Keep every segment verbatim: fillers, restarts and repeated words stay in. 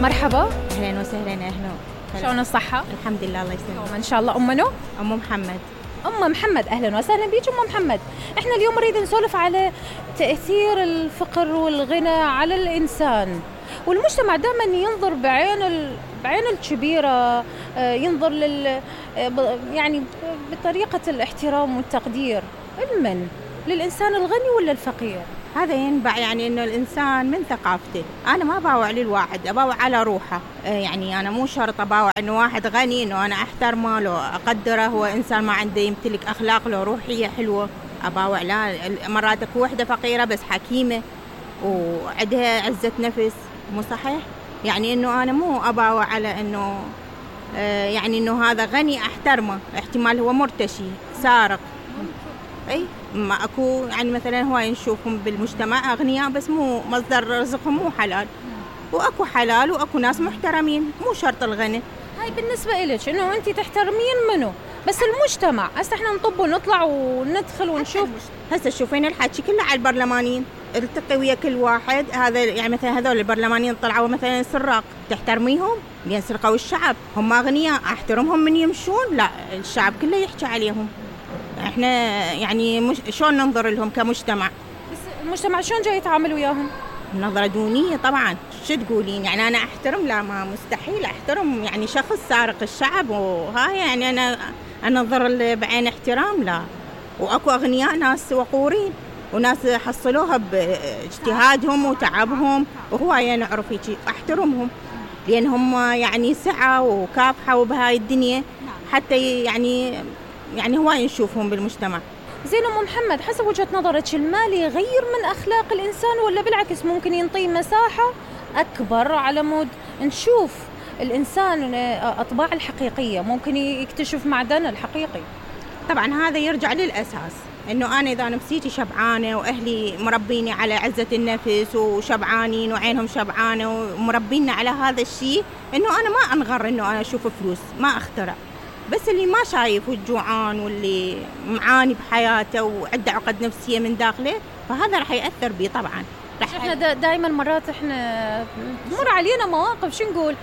مرحبا، اهلا وسهلا. اهلا. شلون الصحة؟ الحمد لله، الله يسلمك. ان شاء الله. ام منو؟ ام محمد. ام محمد، اهلا وسهلا بيك ام محمد. احنا اليوم نريد نسولف على تأثير الفقر والغنى على الانسان، والمجتمع دائما ينظر بعين ال... بعين الكبيرة، ينظر لل يعني بطريقة الاحترام والتقدير. المن للإنسان الغني ولا الفقير؟ هذا ينبع يعني إنه الإنسان من ثقافته. أنا ما باوع للواحد، أباوع على روحه. يعني أنا مو شرط أباوع إنه واحد غني إنه أنا أحترمه لو أقدره، هو إنسان ما عنده يمتلك أخلاق لو روحية حلوة أباوع. لا، مرات أكو وحدة فقيرة بس حكيمة وعندها عزة نفس، مو صحيح؟ يعني إنه أنا مو أباوع على إنه يعني إنه هذا غني أحترمه، احتمال هو مرتشي سارق. أي ما أكو يعني مثلا هواي نشوفهم بالمجتمع أغنياء بس مو مصدر رزقهم مو حلال، وأكو حلال وأكو ناس محترمين، مو شرط الغني. هاي بالنسبة إلك إنه أنت تحترمين منه، بس المجتمع هسه إحنا نطب ونطلع وندخل ونشوف. هسه شوفين الحكي كله على البرلمانيين، التقي ويا كل واحد. هذا يعني مثلا هذول البرلمانيين طلعوا مثلا سراق، تحترميهم؟ لأن سرقوا الشعب، هم أغنياء أحترمهم من يمشون؟ لا، الشعب كله يحكي عليهم. احنا يعني مش شلون ننظر لهم كمجتمع؟ بس المجتمع شلون جاي يتعامل وياهم؟ نظرة دونية طبعا. شو تقولين يعني انا احترم؟ لا، ما مستحيل احترم يعني شخص سارق الشعب وهاي يعني انا انظر بعين احترام؟ لا. واكو اغنياء ناس وقورين وناس حصلوها باجتهادهم وتعبهم، وهواية نعرف هيك احترمهم لان هم يعني سعوا وكافحوا بهاي الدنيا حتى يعني يعني هواي نشوفهم بالمجتمع. زين ام محمد، حسب وجهة نظرك المال يغير من أخلاق الإنسان ولا بالعكس ممكن ينطي مساحة أكبر على مود نشوف الإنسان أطباع الحقيقية، ممكن يكتشف معدنه الحقيقي؟ طبعا هذا يرجع للأساس، إنه أنا إذا نفسيتي شبعانة وأهلي مربيني على عزة النفس وشبعانين وعينهم شبعانة ومربيني على هذا الشيء، إنه أنا ما أنغر إنه أنا أشوف فلوس، ما أخترع. بس اللي ما شايف والجوعان واللي معاني بحياته وعنده عقد نفسية من داخله، فهذا رح يأثر بيه طبعا. رح احنا دا دائما مرات احنا مر علينا مواقف شو نقول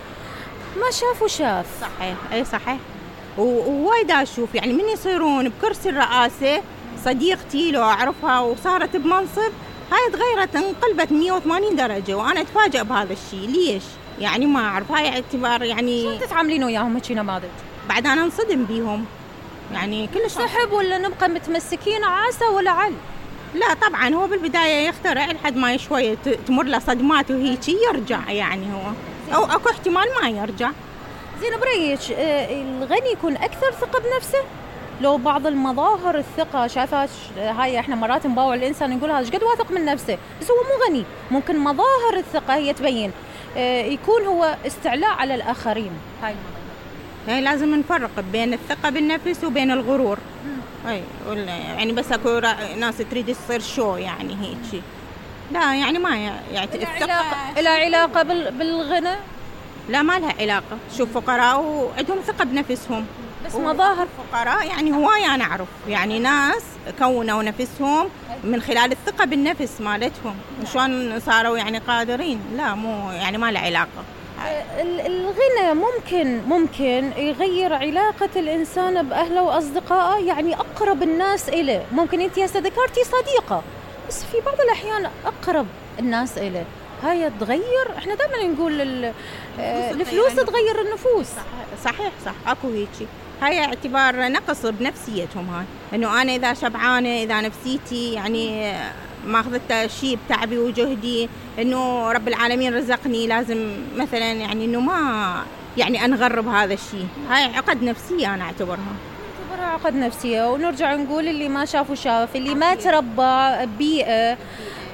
ما شاف وشاف. صحيح، اي صحيح. ووايد اشوف يعني من يصيرون بكرسي الرئاسة، صديقتي لو اعرفها وصارت بمنصب هاي تغيرت انقلبت مية وثمانين درجة، وانا اتفاجئ بهذا الشيء. ليش؟ يعني ما اعرف. هاي اعتبار يعني شو تتعاملين وياهم هيك نماذج؟ بعد أنا انصدم بيهم يعني كلش. سحب ولا نبقى متمسكين عاسة ولا عل؟ لا طبعا، هو بالبداية يخترع لحد ما شوية تمر له صدمات وهيك يرجع يعني هو، أو أكو احتمال ما يرجع. زين بريك، الغني يكون أكثر ثقة بنفسه؟ لو بعض المظاهر الثقة شايفها هاي احنا مرات نباوع الإنسان نقول هذا قد واثق من نفسه بس هو مو غني، ممكن مظاهر الثقة هي تبين يكون هو استعلاء على الآخرين. هاي يعني لازم نفرق بين الثقة بالنفس وبين الغرور. اي يعني بس اكو ناس تريد تصير شو يعني هيك. لا يعني ما يعني الثقة لها علاقة بالغنى؟ لا ما لها علاقة. شوف فقراء وعندهم ثقة بنفسهم بس مظاهر فقراء يعني هواي أنا أعرف يعني ناس كونوا نفسهم من خلال الثقة بالنفس مالتهم، وشون صاروا يعني قادرين. لا مو يعني ما له علاقة. الغنى ممكن ممكن يغير علاقة الإنسان بأهله وأصدقائه، يعني أقرب الناس إليه. ممكن أنت هسه ذكرتي صديقة، بس في بعض الأحيان أقرب الناس إليه هاي تغير. إحنا دائما نقول الفلوس تغير النفوس. صحيح صح، أكو هيك. هاي اعتبار نقص بنفسيتهم. هاي إنه أنا إذا شبعانة، إذا نفسيتي يعني ما أخذت شيء بتعبي وجهدي، إنه رب العالمين رزقني، لازم مثلا يعني إنه ما يعني أنغرب هذا الشيء. هاي عقد نفسية أنا أعتبرها. أعتبرها عقد نفسية. ونرجع نقول اللي ما شاف وشاف، اللي ما تربى بيئة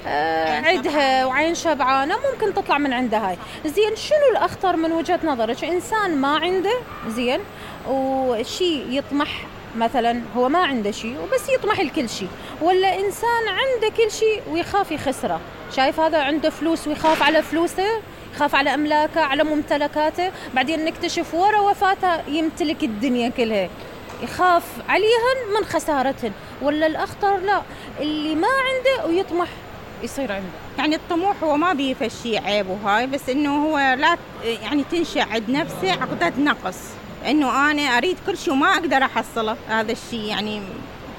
آه عندها وعين شبعانة ممكن تطلع من عندها. هاي زين، شنو الأخطر من وجهة نظرك؟ إنسان ما عنده زين وشيء يطمح، مثلا هو ما عنده شيء وبس يطمح لكل شيء، ولا إنسان عنده كل شيء ويخاف يخسره؟ شايف هذا عنده فلوس ويخاف على فلوسه، يخاف على أملاكه، على ممتلكاته، بعدين نكتشف ورا وفاته يمتلك الدنيا كلها، يخاف عليهن من خسارتهن. ولا الأخطر لا، اللي ما عنده ويطمح يصير عنده. يعني الطموح هو ما بيه فشي عيب وهاي، بس إنه هو لا يعني تنشأ عند نفسه عقدة نقص، إنه أنا أريد كل شيء وما أقدر أحصله. هذا الشيء يعني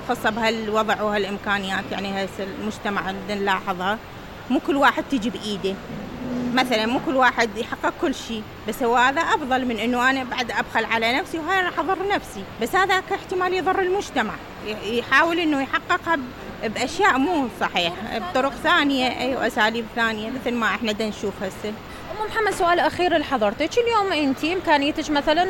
خاصة بهالوضع وهالإمكانيات. يعني هسه المجتمع اللي نلاحظها مو كل واحد تجي بإيده، مثلا مو كل واحد يحقق كل شيء، بس هو هذا أفضل من إنه أنا بعد أبخل على نفسي وهاي راح أضر نفسي. بس هذا احتمال يضر المجتمع، يحاول إنه يحققها بأشياء مو صحيح، بطرق ثانية أي وأساليب ثانية مثل ما إحنا دا نشوف هسه. أم محمد، سؤال أخير لحضرتك، اليوم أنتي إمكانيتك مثلا